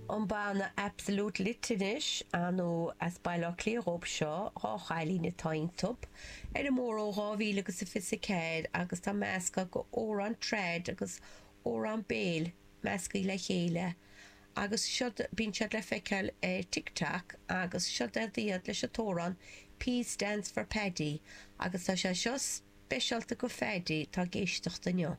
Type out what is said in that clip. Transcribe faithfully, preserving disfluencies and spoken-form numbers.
An banna Absolute Lit anois nó as Baile Átha Cliath dhóibh seo dhá chailín atá iontu ar an mór ó dhá mhíle agus a fiche ceathair agus tá meascadh go amhrán trad agus amhrán béil measctha le chéile agus siad bíonn siad le feiceáil ar TikTok agus seo iad leis an t-amhrán P stands for Paddy agus tá sé seo speisialta go Phaddy tá ag éisteacht inniu.